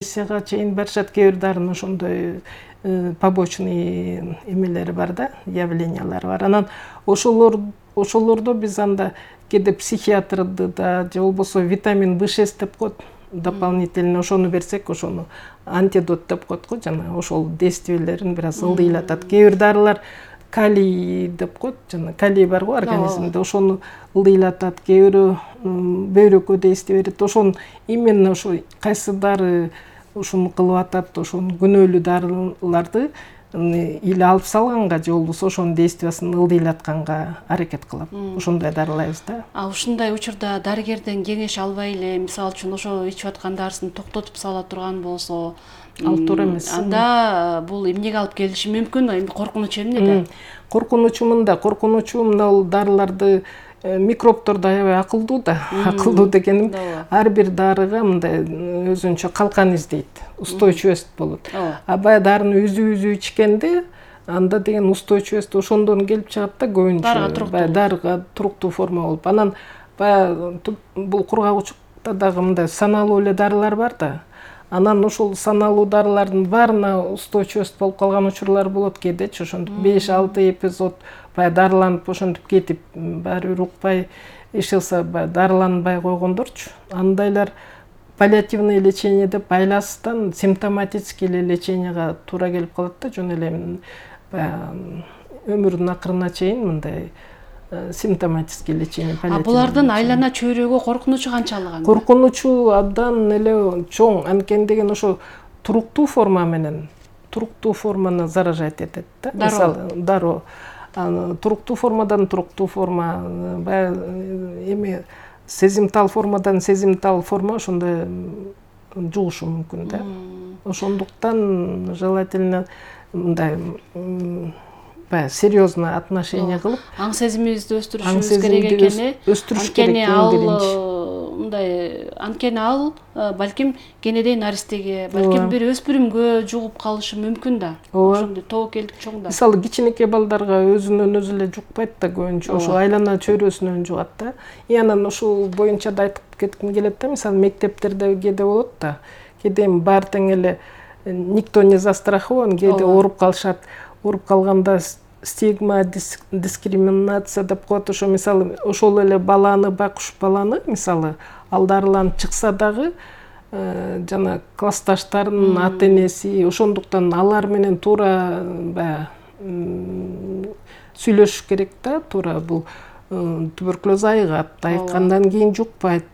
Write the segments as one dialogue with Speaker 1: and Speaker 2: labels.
Speaker 1: Ремиссияга чейин барышат, кээ бир дарынын ошондой побочный эмелери бар да, явлениялары бар. Анан ошолордо биз анда кээде психиатрды да же болбосо витамин B6 деп коет, дополнительно ошону берсек, ошону антидот деп коет го, жана ошол действиелерин бир аз ылдыйлатат. Кээ бир дарылар калий деп коет, жана калий бар го организмде, ошону ылдыйлатат. Кээ бири бөйрөккө действие берет. Ошону именно ошо кайсы дары ушуну кылып атат, ошону күнөөлүү дарыларды или алып салганга же болбосо ошонун действиясын ылдыйлатканга аракет кылам. Ошондой дарылайбыз да.
Speaker 2: Ушундай учурда дарыгерден кеңеш албай эле, мисалы үчүн ошо ичип аткан дарысын токтотуп сала турган болсо,
Speaker 1: ал туура эмес.
Speaker 2: Анда бул эмнеге алып келиши мүмкүн? Эми коркунучу эмнеде?
Speaker 1: Коркунучу мындай дарыларды микробдор да аябай акылдуу да. Акылдуу дегеним ар бир дарыга мындай өзүнчө калкан издейт, устойчивость болот. А баягы дарыны үзүү ичкенде анда деген устойчивость ошондон келип чыгат да, көбүнчө дарыга туруктуу форма болуп. Анан баягы бул кургагучукта дагы мындай саналуу эле дарылар бар да. Анан ошол саналуу дарылардын баарына устойчивость болуп калган учурлар болот кээдечи, ошондук 5-6 эпизод баягы дарыланып ошентип кетип, баары бир укпай ишелсе, баягы дарыланбай койгондорчу. Андайлар паллиативный лечение деп айласыздан симптоматический леченияга туура келип калат да, жөн эле баягы өмүрүнүн акырына чейин мындай симптоматический лечение.
Speaker 2: Булардын айлана чөйрөгө коркунучу канчалык анда?
Speaker 1: Коркунучу абдан эле чоң, анткени деген ошо туруктуу форма менен, туруктуу форманы заражать этет да. Мисалы, дароо. Туруктуу формадан туруктуу форма, баягы эми сезимтал формадан сезимтал форма ошондой жугушу мүмкүн да. Ошондуктан желательно мындай серьезно отношение кылып,
Speaker 2: аң сезимибизди өстүрүшүбүз керек экени, анткени ал балким кенедей наристеге, балким бир өспүрүмгө жугуп калышы мүмкүн да. Ошондой тобокелдик чоң да.
Speaker 1: Мисалы кичинекей балдарга өзүнөн өзү эле жукпайт да, көбүнчө ошо айлана чөйрөсүнөн жугат да. Анан ушул боюнча да айтып кетким келет да, мисалы мектептерде кээде болот да, кээде баары тең эле никто не застрахован, кээде ооруп калышат. Ооруп калганда стигма, дискриминация деп коет. Ошо мисалы ошол эле баланы, байкуш баланы, мисалы ал дарыланып чыкса дагы жана классташтарынын ата-энеси, ошондуктан алар менен туура сүйлөшүш керек да, туура бул туберкулез айыгат, айыккандан кийин жукпайт.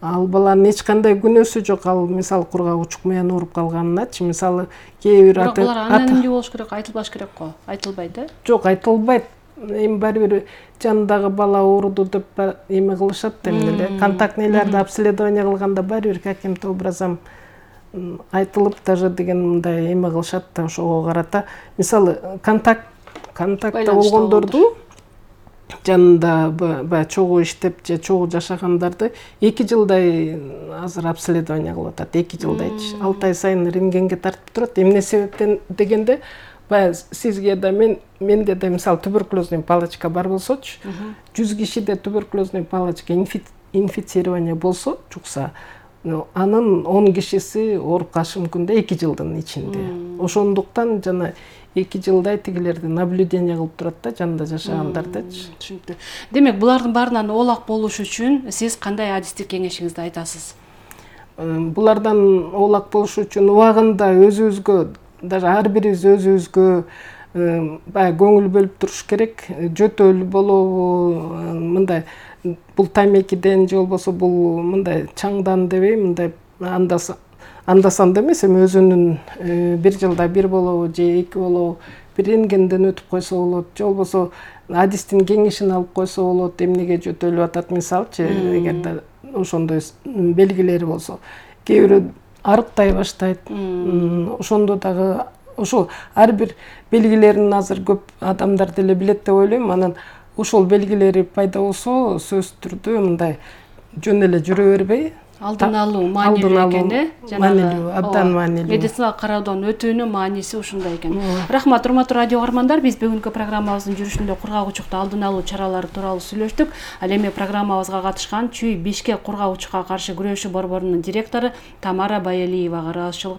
Speaker 1: Ал баланын эч кандай күнөөсү жок, ал мисалы кургагучук менен ооруп калганыначы, мисалы кээ бир
Speaker 2: булар анонимдүү болуш керек, айтылбаш керек го, айтылбайт да?
Speaker 1: Жок, айтылбайт. Эми баары бир жанындагы бала ооруду деп эме кылышат да, эмне эле контактныйларды обследование кылганда баары бир каким-то образом айтылып даже деген мындай эме кылышат да, ошого карата. Мисалы контактта болгондорду жанында баягы чогуу иштеп же чогуу жашагандарды 2 жылдай азыр обследование кылып атат, 2 жылдайчы. 6 ай сайын рентгенге тартып турат. Эмне себептен дегенде, баягы сизге да менде да мисалы туберкулезный палочка бар болсочу, 100 кишиде туберкулезный палочка инфицирование болсо, жукса, анын 10 кишиси ооруп калышы мүмкүн да 2 жылдын ичинде. Ошондуктан жана 2 жылдай тигилерди наблюдение кылып турат да, жанында жашагандардычы.
Speaker 2: Түшүнүктүү. Демек, булардын баарынан оолак болуш үчүн сиз кандай адистик кеңешиңизди айтасыз?
Speaker 1: Булардан оолак болуш үчүн убагында өзүбүзгө, даже ар бирибиз өзүбүзгө баягы көңүл бөлүп туруш керек. Жөтөл болобу, мындай бул тамекиден же болбосо бул мындай чаңдан дебейм, мындай андасанда эмес, эми өзүнүн 1 жылда 1 болобу же 2 болобу бир рентгенден өтүп койсо болот, же болбосо адистин кеңешин алып койсо болот, эмнеге жөтөлүп атат, мисалчы, эгерде ошондой белгилери болсо. Кээ бирөө арыктай баштайт. Ошондо дагы ошол ар бир белгилерин азыр көп адамдар деле билет деп ойлойм. Анан ошол белгилери пайда болсо, сөзсүз түрдө мындай жөн эле жүрө бербей,
Speaker 2: алдын алуу маанилүү экен,
Speaker 1: маанилүү, абдан маанилүү.
Speaker 2: Медициналык кароодон өтүүнүн мааниси ушундай экен. Рахмат, урматтуу радио угармандар, биз бүгүнкү программабыздын жүрүшүндө кургагучукта алдын алуу чаралары тууралуу сүйлөштүк. Ал эми программабызга катышкан Чүй Бишкек кургагучукка каршы күрөшүү борборунун директору Тамара Баялиевага ыраазычылык